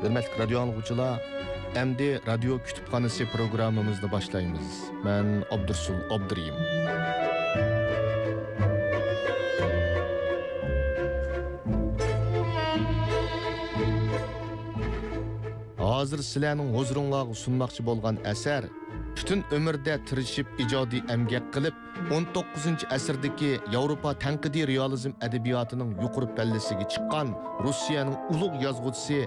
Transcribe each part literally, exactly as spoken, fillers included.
ھۆرمەتلىك رادىيو ئاڭلىغۇچىلار، ئەمدى رادىيو كۇتۇپخانىسى پروگراممىمىزنى باشلايمىز. مەن ئابدۇرسۇل ئابدۇرېھىم. ھازىر سىلەرنىڭ ھۇزۇرۇڭلارغا سۇنماقچى بولغان ئەسەر پۈتۈن ئۆمرىدە تىرىشىپ ئىجادىي ئەمگەك قىلىپ، ئون توققۇزىنچى ئەسىردىكى ياۋروپا تەنقىدىي رېئالىزم ئەدەبىياتىنىڭ يۇقىرى پەللىسىگە چىققان روسىيەنىڭ ئۇلۇغ يازغۇچىسى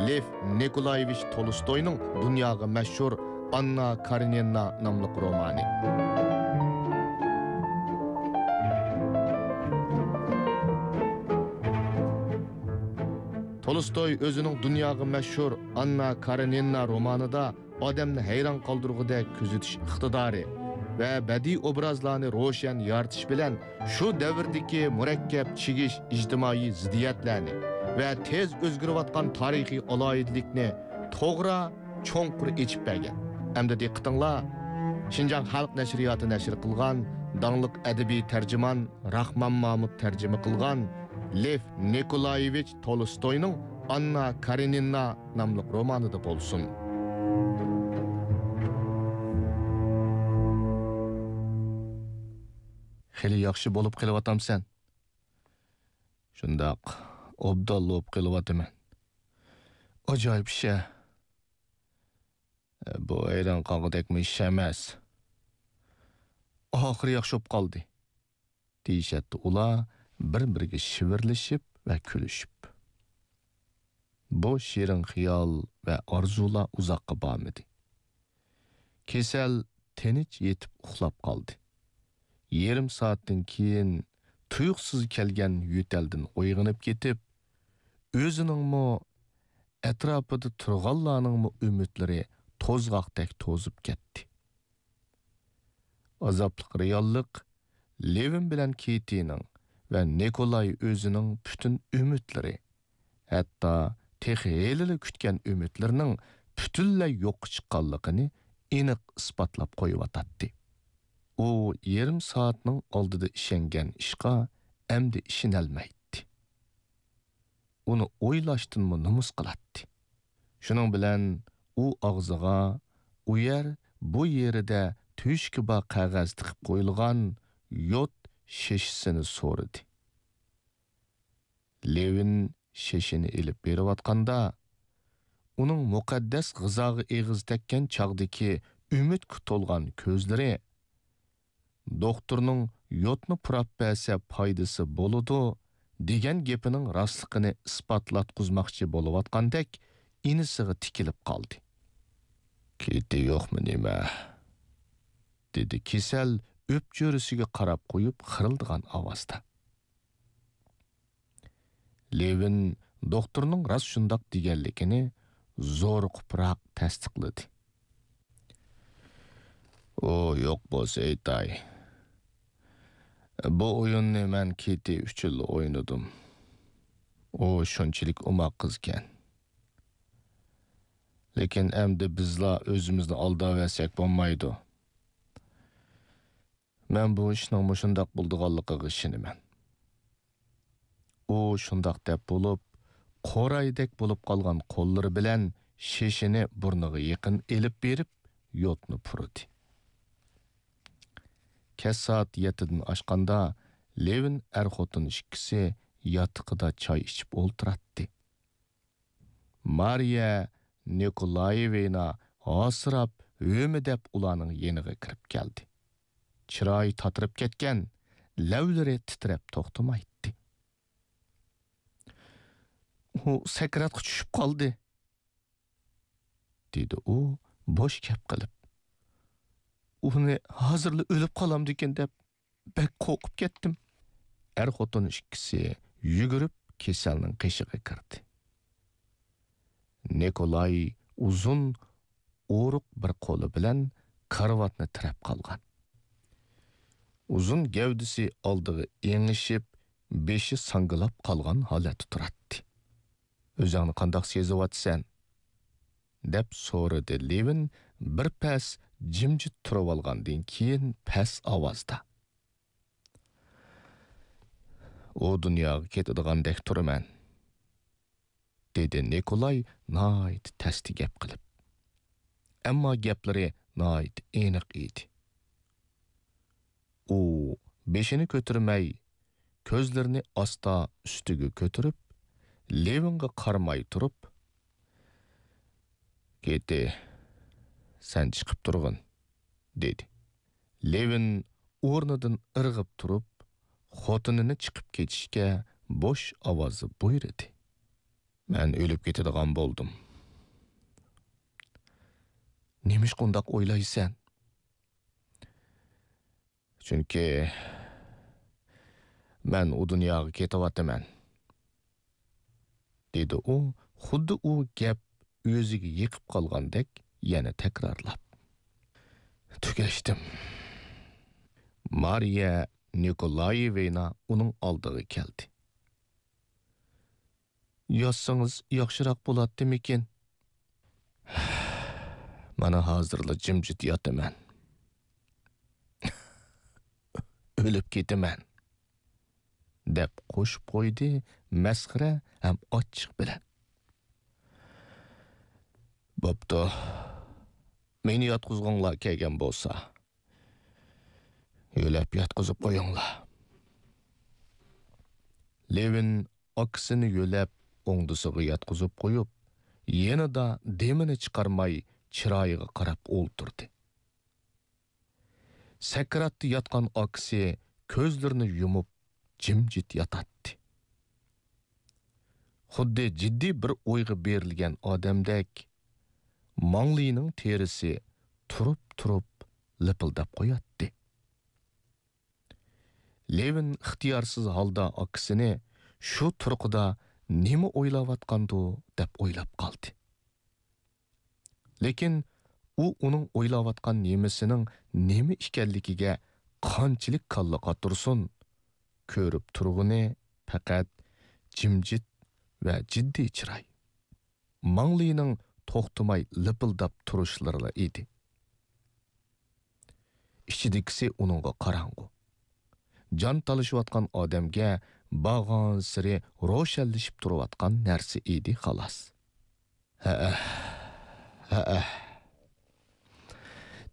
لېف نىكولايېۋىچ تولستوينىڭ دۇنياغا مەشھۇر ئاننا كارېنىنا ناملىق رومانى. تولستوي ئۆزىنىڭ دۇنياغا مەشھۇر ئاننا كارېنىنا رومانىدا ئادەمنى ھەيران قالدۇرغۇدەك كۆزىتىش ئىقتىدارى ۋە بەدىئىي ئوبرازلارنى روشەن يارىتىش بىلەن شۇ دەۋردىكى مۇرەككەپ چىگىش ئىجتىمائىي زىددىيەتلەرنى ۋە تېز ئۆزگىرىۋاتقان تارىخىي ئالاھىدىلىكنى توغرا، چوڭقۇر ئېچىپ بەرگەن. ئەمدى دىققىتىڭلار شىنجاڭ خەلق نەشرىياتى نەشر قىلغان داڭلىق ئەدەبىي تەرجىمان راخمان مامۇت تەرجىمە قىلغان لېف نىكولايېۋىچ تولستوينىڭ ئاننا كارېنىنا ناملىق رومانىدا بولسۇن. خېلى ياخشى بولۇپ قېلىۋاتامسەن؟ شۇنداق، ئوبدانلا بولۇپ قېلىۋاتىمەن. ئاجايىپ ئىش-ە. بۇ ھەيران قالغۇدەكمۇ ئىش ئەمەس. ئاخىرى ياخشى بولۇپ قالدى. دېيىشەتتى ئۇلار بىر-بىرىگە شىۋىرلىشىپ ۋە كۈلۈشۈپ. بۇ شېرىن خىيال ۋە ئارزۇلار ئۇزاققا بارمىدى. كېسەل تىنچ يېتىپ ئۇخلاپ قالدى. يېرىم سائەتتىن كېيىن تۇيۇقسىز كەلگەن يۆتەلدىن ئويغىنىپ كېتىپ، ئۆزىنىڭمۇ، ئەتراپىدا تۇرغانلارنىڭمۇ ئۈمىدلىرى توزغاقتەك توزۇپ كەتتى. ئازابلىق رېئاللىق لېۋىن بىلەن كېتىنىڭ ۋە نىكولاي ئۆزىنىڭ پۈتۈن ئۈمىدلىرى، ھەتتا تېخى ھېلىلا كۈتكەن ئۈمىدلىرىنىڭ پۈتۈنلەي يوققا چىققانلىقىنى ئېنىق ئىسپاتلاپ قويۇۋاتاتتى. ئۇ يېرىم سائەتنىڭ ئالدىدا ئىشەنگەن ئىشقا ئەمدى ئىشىنەلمەيتتى. ئۇنى ئويلاشتىنمۇ نومۇس قىلاتتى. شۇنىڭ بىلەن ئۇ ئاغزىغا ئۇ يەر، بۇ يېرىدە تۆشۈكى بار قەغەز تىقىپ قويۇلغان يود شېشىسىنى سورىدى. لېۋىن شېشىنى ئېلىپ بېرىۋاتقاندا، ئۇنىڭ مۇقەددەس غىزاغا ئېغىز تەگكەن چاغدىكى ئۈمىدكە تولغان كۆزلىرى، «دوختۇرنىڭ يودنى پۇراپ بەرسە پايدىسى بولىدۇ» دېگەن گېپىنىڭ راستلىقىنى ئىسپاتلاتقۇزماقچى بولۇۋاتقاندەك ئىنىسىغا تىكىلىپ قالدى. «كېتى يوقمۇ نېمە؟» دېدى كېسەل ئۆپچۆرىسىگە قاراپ قويۇپ خىرىلدىغان ئاۋازدا. لېۋىن دوختۇرنىڭ راست شۇنداق دېگەنلىكىنى زورۇقۇپراق تەستىقلىدى. «ئۇ يوق بولسا ئېيتاي. بۇ ئويۇننى مەن كېتى ئۈچۈنلا ئوينىدىم. ئۇ شۇنچىلىك ئوماق قىزكەن. لېكىن ئەمدى بىزلا ئۆزىمىزنى ئالداۋەرسەك بولمايدۇ. مەن بۇ ئىشنىڭ مۇشۇنداق بولىدىغانلىقىغا ئىشىنىمەن.» ئۇ شۇنداق دەپ بولۇپ، قورايدەك بولۇپ قالغان قوللىرى بىلەن شېشىنى بۇرنىغا يېقىن ئېلىپ بېرىپ، يودنى پۇرىدى. كەچ سائەت يەتتىدىن ئاشقاندا، لېۋىن ئەر-خوتۇن ئىككىسى ياتىقىدا چاي ئىچىپ ئولتۇراتتى. مارىيە نىكولايېۋنا ھاسىراپ، ھۆمۈدەپ ئۇلارنىڭ يېنىغا كىرىپ كەلدى. چىرايى تاتىرىپ كەتكەن، لەۋلىرى تىترەپ توختىمايتتى. «ئۇ سەكراتقا چۈشۈپ قالدى»، دېدى ئۇ بوش گەپ قىلىپ. «ئۇنى ھازىرلا ئۆلۈپ قالامدىكىن دەپ بەك قورقۇپ كەتتىم.» ئەر-خوتۇن ئىككىسى يۈگۈرۈپ كېسەلنىڭ قېشىغا كىردى. نىكولاي ئۇزۇن ئورۇق بىر قولى بىلەن كارىۋاتنى تىرەپ قالغان. ئۇزۇن گەۋدىسى ئالدىغا ئېڭىشىپ، بېشى ساڭگىلاپ قالغان ھالەتتە تۇراتتى. «ئۆزۈڭنى قانداق سېزىۋاتىسەن؟» دەپ سورىدى لېۋىن بىر پەس جىمجىت تۇرۇۋالغاندىن كېيىن پەس ئاۋازدا. «ئۇ دۇنياغا كېتىدىغاندەك تۇرىمەن.» دېدى نىكولاي ناھايىتى تەستە گەپ قىلىپ. ئەمما گەپلىرى ناھايىتى ئېنىق ئىدى. ئۇ بېشىنى كۆتۈرمەي، كۆزلىرىنى ئاستا ئۈستىگە كۆتۈرۈپ، لېۋىنغا قارىماي تۇرۇپ، «كېتى، سەن چىقىپ تۇرغىن» دېدى. لېۋىن ئورنىدىن ئىرغىپ تۇرۇپ، خوتۇنىنى چىقىپ كېتىشكە بوش ئاۋازدا بۇيرۇدى. مەن ئۆلۈپ كېتىدىغان بولدۇم. نېمىشقا ئۇنداق ئويلايسەن؟ چۈنكى مەن ئۇ دۇنياغا كېتىۋاتىمەن، دېدى ئۇ، خۇددى ئۇ گەپ ئۆزىگە يېقىپ قالغاندەك يەنە تەكرارلاپ. تۈگەشتىم. مارىيە نىكولايېۋنا ئۇنىڭ ئالدىغا كەلدى. ياتسىڭىز ياخشىراق بولاتتىمىكىن؟ مانا ھازىرلا جىمجىت ياتىمەن. ئۆلۈپ كېتىمەن، دەپ قوشۇپ قويدى مەسخىرە ھەم ئاچچىق بىلەن. بوپتۇ، مېنى ياتقۇزغۇڭلار كەلگەن بولسا، يۆلەپ ياتقۇزۇپ قويۇڭلار. لېۋىن ئاكىسىنى يۆلەپ ئوڭدىسىغا ياتقۇزۇپ قويۇپ، يېنىدا دېمىنى چىقارماي چىرايىغا قاراپ ئولتۇردى. سەكراتتا ياتقان ئاكىسى كۆزلىرىنى يۇمۇپ جىمجىت ياتاتتى. خۇددى جىددىي بىر ئويغا بېرىلگەن ئادەمدەك، ماڭلىنىڭ تېرىسى تۇرۇپ-تۇرۇپ لىپىلداپ قوياتتى. لېۋىن ئىختىيارسىز ھالدا ئاكىسىنى شۇ تۇرقىدا نېمە ئويلاۋاتقاندۇ دەپ ئويلاپ قالدى. لېكىن ئۇ ئۇنىڭ ئويلاۋاتقان نېمىسىنىڭ نېمە ئىكەنلىكىگە قانچىلىك كاللا قاتۇرسۇن، كۆرۈپ تۇرغىنى پەقەت جىمجىت ۋە جىددىي چىراي، ماڭلىنىڭ توختىماي لىپىلداپ تۇرۇشلىرىلا ئىدى. ئىچىدىكىسى ئۇنىڭغا قاراڭغۇ. جان تالىشىۋاتقان ئادەمگە بارغانسېرى روشەنلىشىپ تۇرۇۋاتقان نەرسە ئىدى، خالاس. ھەئە، ھەئە،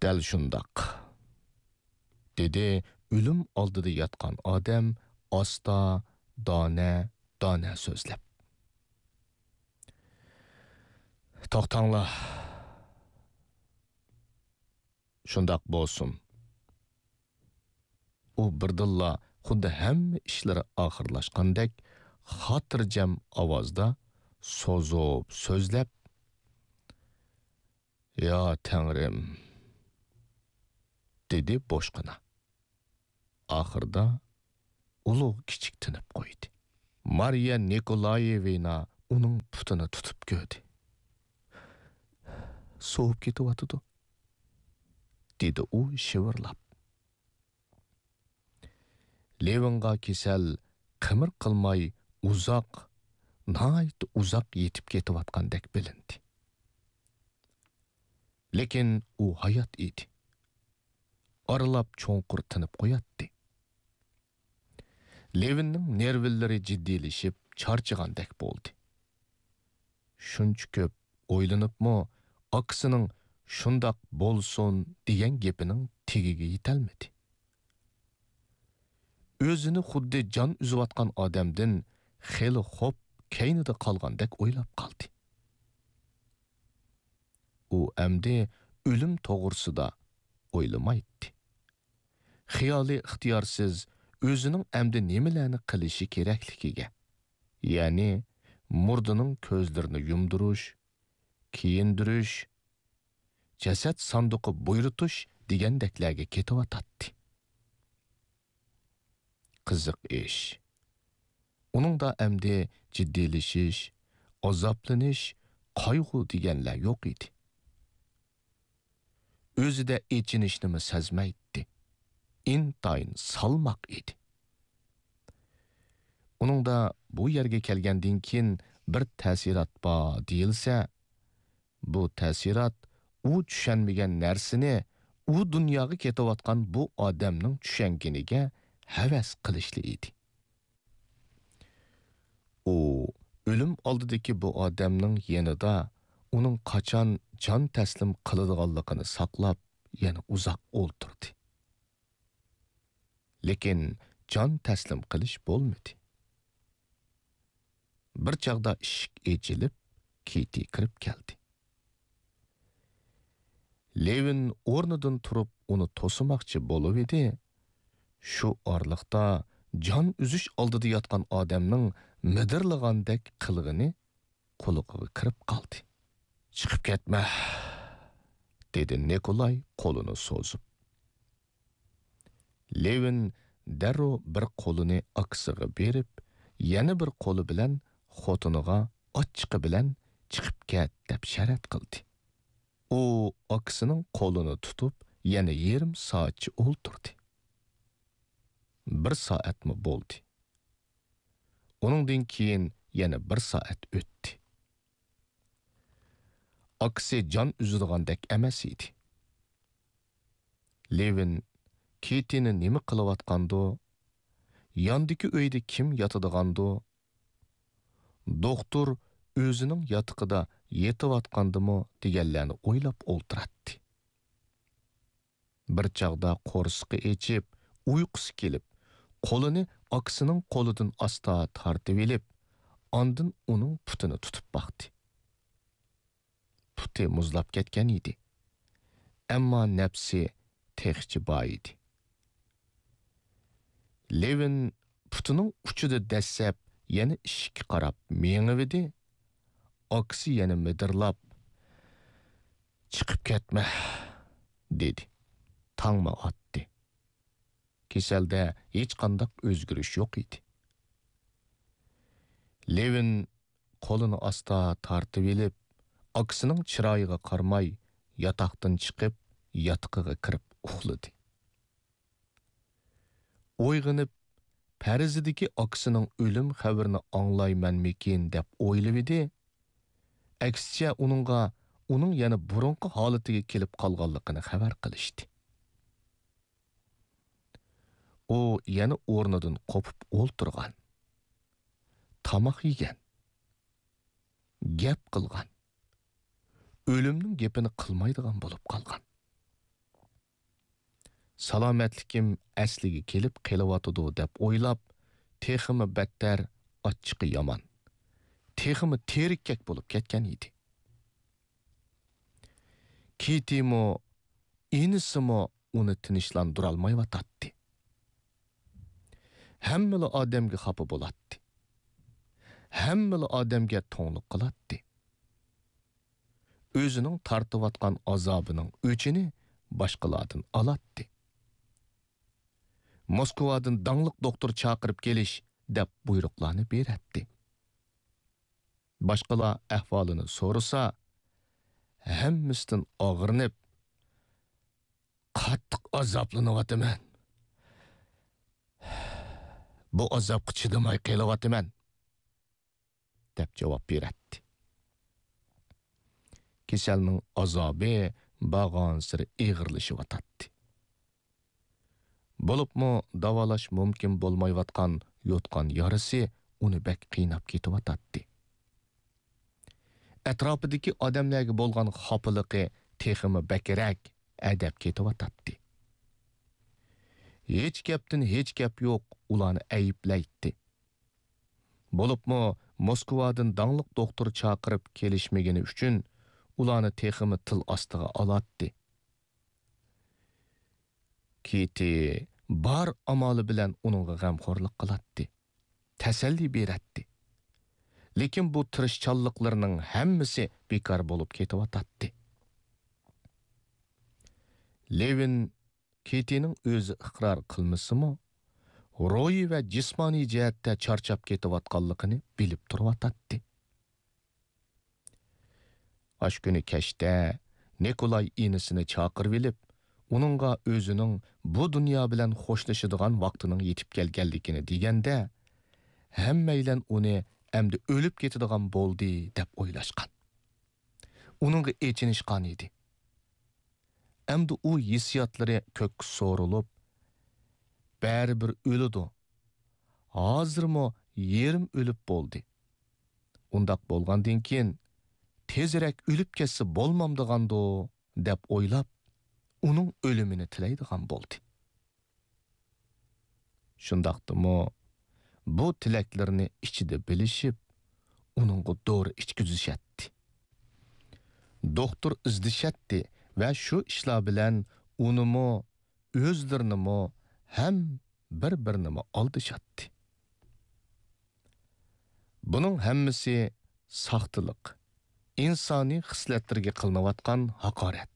دەل شۇنداق، دېدى ئۆلۈم ئالدىدا ياتقان ئادەم ئاستا، دانە، دانە سۆزلەپ. توختاڭلار. شۇنداق بولسۇن. ئۇ بىردىنلا خۇددى ھەممە ئىشلىرى ئاخىرلاشقاندەك خاتىرجەم ئاۋازدا سوزۇپ سۆزلەپ، «يا تەڭرىم!» دېدى بوشقىنا. ئاخىرىدا ئۇلۇغ كىچىك تىنىپ قويدى. مارىيە نىكولايېۋنا ئۇنىڭ پۇتىنى تۇتۇپ كۆردى. سوۋۇپ كېتىۋاتىدۇ، دېدى ئۇ شىۋىرلاپ. لېۋىنغا كېسەل قىمىر قىلماي ئۇزاق، ناھايىتى ئۇزاق يېتىپ كېتىۋاتقاندەك بىلىندى. لېكىن ئۇ ھايات ئىدى. ئارىلاپ چوڭقۇر تىنىپ قوياتتى. لېۋىننىڭ نېرۋىلىرى جىددىيلىشىپ، چارچىغاندەك بولدى. شۇنچە كۆپ ئويلىنىپمۇ، ئاكىسىنىڭ «شۇنداق بولسۇن» دېگەن گېپىنىڭ تېگىگە يېتەلمىدى. ئۆزىنى خۇددى جان ئۈزۈۋاتقان ئادەمدىن خېلى خوپ كەينىدە قالغاندەك ئويلاپ قالدى. ئۇ ئەمدى ئۆلۈم توغرىسىدا ئويلىمايتتى. خىيالى ئىختىيارسىز ئۆزىنىڭ ئەمدى نېمىلەرنى قىلىشى كېرەكلىكىگە، يەنى مۇردىنىڭ كۆزلىرىنى يۇمدۇرۇش، كىيىندۈرۈش، جەسەت ساندۇقى بۇيرۇتۇش دېگەندەكلەرگە كېتىۋاتاتتى. قىزىق ئىش، ئۇنىڭدا ئەمدى جىددىيلىشىش، ئازابلىنىش، قايغۇ دېگەنلەر يوق ئىدى. ئۆزىدە ئېچىنىشنىمۇ سەزمەيتتى. ئىنتايىن سالماق ئىدى. ئۇنىڭدا بۇ يەرگە كەلگەندىن كېيىن بىر تەسىرات بار دېيىلسە، بۇ تەسىرات ئۇ چۈشەنمىگەن نەرسىنى ئۇ دۇنياغا كېتىۋاتقان بۇ ئادەمنىڭ چۈشەنگىنىگە ھەۋەس قىلىشلا ئىدى. ئۇ ئۆلۈم ئالدىدىكى بۇ ئادەمنىڭ يېنىدا ئۇنىڭ قاچان جان تەسلىم قىلىدىغانلىقىنى ساقلاپ، يەنە ئۇزاق ئولتۇردى. لېكىن جان تەسلىم قىلىش بولمىدى. بىر چاغدا ئىشىك ئېچىلىپ، كېتى كىرىپ كەلدى. لېۋىن ئورنىدىن تۇرۇپ ئۇنى توسىماقچى بولۇۋىدى. شۇ ئارىلىقتا جان ئۈزۈش ئالدىدا ياتقان ئادەمنىڭ مىدىرلىغاندەك قىلغىنى قۇلىقىغا كىرىپ قالدى. «چىقىپ كەتمە!» دېدى نىكولاي قولىنى سوزۇپ. لېۋىن دەررۇ بىر قولىنى ئاكىسىغا بېرىپ، يەنە بىر قولى بىلەن خوتۇنىغا ئاچچىقى بىلەن «چىقىپ كەت» دەپ شەرەت قىلدى. ئۇ ئاكىسىنىڭ قولىنى تۇتۇپ، يەنە يېرىم سائەتچە ئولتۇردى. بىر سائەتمۇ بولدى. ئۇنىڭدىن كېيىن يەنە بىر سائەت ئۆتتى. ئاكىسى جان ئۈزىدىغاندەك ئەمەس ئىدى. لېۋىن كېتىنى نېمە قىلىۋاتقاندۇ، ياندىكى ئۆيدە كىم ياتىدىغاندۇ، دوختۇر ئۆزىنىڭ ياتىقىدا يېتىۋاتقاندىمۇ دېگەنلەرنى ئويلاپ ئولتۇراتتى. بىر چاغدا قورسىقى ئېچىپ، ئۇيقۇسى كېلىپ، قولىنى ئاكىسىنىڭ قولىدىن ئاستا تارتىۋېلىپ، ئاندىن ئۇنىڭ پۇتىنى تۇتۇپ باقتى. پۇتى مۇزلاپ كەتكەن ئىدى. ئەمما نەپسى تېخىچە بار ئىدى. لېۋىن پۇتىنىڭ ئۇچىدا دەسسەپ يەنە ئىشىككە قاراپ مېڭىۋىدى. ئاكىسى يەنە مىدىرلاپ، «چىقىپ كەتمە!» دېدى. تاڭمۇ ئاتتى. كېسەلدە ھېچقانداق ئۆزگىرىش يوق ئىدى. لېۋىن قولىنى ئاستا تارتىۋېلىپ، ئاكىسىنىڭ چىرايىغا قارىماي، ياتاقتىن چىقىپ، ياتىقىغا كىرىپ ئۇخلىدى. ئويغىنىپ، پەرىزىدىكى ئاكىسىنىڭ ئۆلۈم خەۋىرىنى ئاڭلايمەنمىكىن دەپ ئويلىۋىدى. ئەكسىچە ئۇنىڭغا ئۇنىڭ يەنە بۇرۇنقى ھالىتىگە كېلىپ قالغانلىقىنى خەۋەر قىلىشتى. ئۇ يەنە ئورنىدىن قوپۇپ ئولتۇرغان. تاماق يېگەن. گەپ قىلغان. ئۆلۈمنىڭ گېپىنى قىلمايدىغان بولۇپ قالغان. سالامەتلىكىم ئەسلىگە كېلىپ قېلىۋاتىدۇ دەپ ئويلاپ، تېخىمۇ بەتتەر ئاچچىقى يامان، تېخىمۇ تېرىككەك بولۇپ كەتكەن ئىدى. كېتىمۇ، ئىنىسىمۇ ئۇنى تىنچلاندۇرالمايۋاتاتتى. ھەممىلا ئادەمگە خاپا بولاتتى. ھەممىلا ئادەمگە توڭلۇق قىلاتتى. ئۆزىنىڭ تارتىۋاتقان ئازابىنىڭ ئۆچىنى باشقىلاردىن ئالاتتى. موسكۋادىن داڭلىق دوختۇر چاقىرىپ كېلىش دەپ بۇيرۇقلارنى بېرەتتى. باشقىلار ئەھۋالىنى سورىسا، ھەممىسىدىن ئاغرىنىپ، «قاتتىق ئازابلىنىۋاتىمەن. بۇ ئازابقا چىدىماي قېلىۋاتىمەن» دەپ جاۋاب بېرەتتى. كېسەلنىڭ ئازابى بارغانسېرى ئېغىرلىشىۋاتاتتى. بولۇپمۇ داۋالاش مۇمكىن بولمايۋاتقان يوتقان يارىسى ئۇنى بەك قىيناپ كېتىۋاتاتتى. ئەتراپىدىكى ئادەملەرگە بولغان خاپىلىقى تېخىمۇ بەكرەك ئەدەپ كېتىۋاتاتتى. ھېچ گەپتىن ھېچ گەپ يوق ئۇلارنى ئەيىبلەيتتى. بولۇپمۇ موسكۋادىن داڭلىق دوختۇر چاقىرىپ كېلىشمىگىنى ئۈچۈن ئۇلارنى تېخىمۇ تىل ئاستىغا ئالاتتى. كېتى بار ئامالى بىلەن ئۇنىڭغا غەمخورلۇق قىلاتتى، تەسەللى بېرەتتى. لېكىن بۇ تىرىشچانلىقلىرىنىڭ ھەممىسى بىكار بولۇپ كېتىۋاتاتتى. لېۋىن كېتىنىڭ ئۆزى ئىقرار قىلمىسىمۇ، روھىي ۋە جىسمانىي جەھەتتە چارچاپ كېتىۋاتقانلىقىنى بىلىپ تۇرۇۋاتاتتى. ئاشۇ كۈنى كەچتە نىكولاي ئىنىسىنى چاقىرىۋېلىپ، ئۇنىڭغا ئۆزىنىڭ بۇ دۇنيا بىلەن خوشلىشىدىغان ۋاقتىنىڭ يېتىپ كەلگەنلىكىنى دېگەندە، ھەممەيلەن ئۇنى ئەمدى ئۆلۈپ كېتىدىغان بولدى دەپ ئويلاشقان. ئۇنىڭغا ئېچىنىشقان ئىدى. ئەمدى ئۇ ھېسسىياتلىرى كۆككە سورۇلۇپ، بەرىبىر ئۆلىدۇ. ھازىرمۇ يېرىم ئۆلۈپ بولدى. ئۇنداق بولغاندىن كېيىن، تېزرەك ئۆلۈپ كەتسە بولمامدىغاندۇ، دەپ ئويلاپ، ئۇنىڭ ئۆلۈمىنى تىلەيدىغان بولدى. شۇنداقتىمۇ، بۇ تىلەكلىرىنى ئىچىدە بىلىشىپ، ئۇنىڭغا دورا ئىچكۈزۈشەتتى. دوختۇر ئىزدىشەتتى ۋە شۇ ئىشلار بىلەن ئۇنىمۇ، ئۆزلىرىنىمۇ ھەم بىر-بىرىنىمۇ ئالدىشاتتى. بۇنىڭ ھەممىسى ساختىلىق، ئىنسانىي خىسلەتلەرگە قىلىنىۋاتقان ھاقارەت،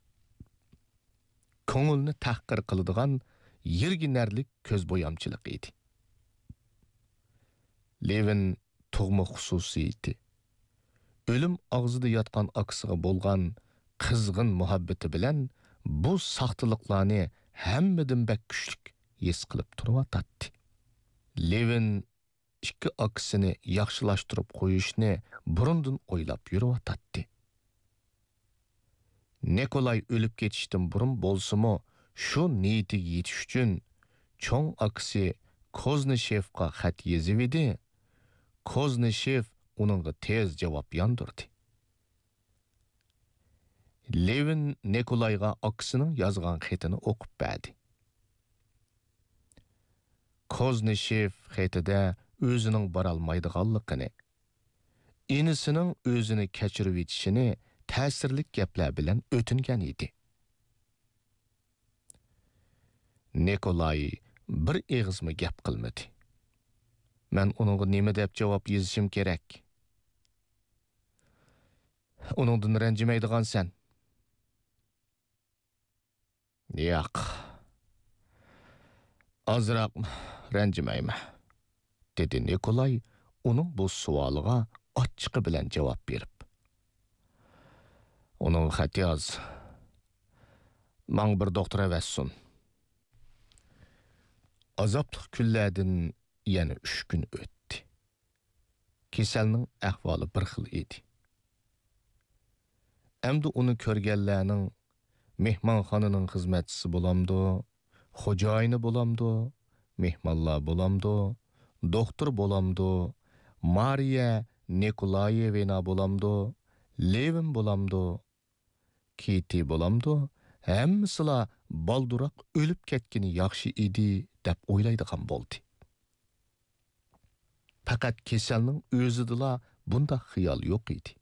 كۆڭۈلنى تەھقىر قىلىدىغان يىرگىنەرلىك كۆزبويامچىلىقى ئىدى. لېۋىن تۇغما خۇسۇسىيىتى، ئۆلۈم ئاغزىدا ياتقان ئاكىسىغا بولغان قىزغىن مۇھەببىتى بىلەن بۇ ساختىلىقلارنى ھەممىدىن بەك كۈچلۈك ھېس قىلىپ تۇرۇۋاتاتتى. لېۋىن ئىككى ئاكىسىنى ياخشىلاشتۇرۇپ قويۇشنى بۇرۇندىن ئويلاپ يۈرۈۋاتاتتى. نىكولاي ئۆلۈپ كېتىشتىن بۇرۇن بولسىمۇ، شۇ نىيىتىگە يېتىش ئۈچۈن چوڭ ئاكىسى كوزنىشېفقا خەت يېزىۋىدى. كوزنىشېف ئۇنىڭغا تېز جاۋاب ياندۇردى. لېۋىن نىكولايغا ئاكىسىنىڭ يازغان خېتىنى ئوقۇپ بەردى. كوزنىشېف خېتىدە ئۆزىنىڭ بارالمايدىغانلىقىنى، ئىنىسىنىڭ ئۆزىنى كەچۈرۈۋېتىشىنى تەسىرلىك گەپلەر بىلەن ئۆتۈنگەن ئىدى. نىكولاي بىر ئېغىزمۇ گەپ قىلمىدى. مەن ئۇنىڭغا نېمە دەپ جاۋاب يېزىشىم كېرەك؟ ئۇنىڭدىن رەنجىمەيدىغانسەن. ياق، ئازراق رەنجىمەيمەن، دېدى نىكولاي ئۇنىڭ بۇ سوئالىغا ئاچچىقى بىلەن جاۋاب بېرىپ. ئۇنىڭغا خەت ياز. ماڭا بىر دوختۇر ئەۋەتسۇن. ئازابلىق كۈنلەردىن يەنە ئۈچ كۈن ئۆتتى. كېسەلنىڭ ئەھۋالى بىر خىل ئىدى. ئەمدى ئۇنى كۆرگەنلەرنىڭ مېھمانخانىنىڭ خىزمەتچىسى بولامدۇ، خوجايىنى بولامدۇ، مېھمانلار بولامدۇ، دوختۇر بولامدۇ، مارىيە نىكولايېۋنا بولامدۇ، لېۋىن بولامدۇ، كىتى بولامدۇ، ھەممىسىلا بالدۇراق ئۆلۈپ كەتكىنى ياخشى ئىدى، دەپ ئويلايدىغان بولدى. پەقەت كېسەلنىڭ ئۆزىدىلا بۇنداق خىيال يوق ئىدى.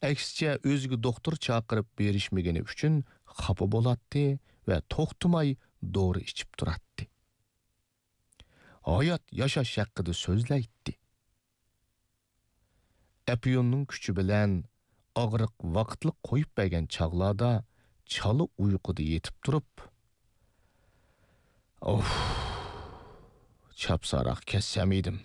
ئەكسىچە، ئۆزىگە دوختۇر چاقىرىپ بېرىشمىگىنى ئۈچۈن خاپا بولاتتى ۋە توختىماي دورا ئىچىپ تۇراتتى. ھايات ياشاش ھەققىدە سۆزلەيتتى. ئەپيۈننىڭ كۈچى بىلەن ئاغرىق ۋاقىتلىق قويۇپ بەرگەن چاغلاردا چالا ئۇيقۇدا يېتىپ تۇرۇپ، ئوف، چاپسانراق كەتسەم ئىدىم،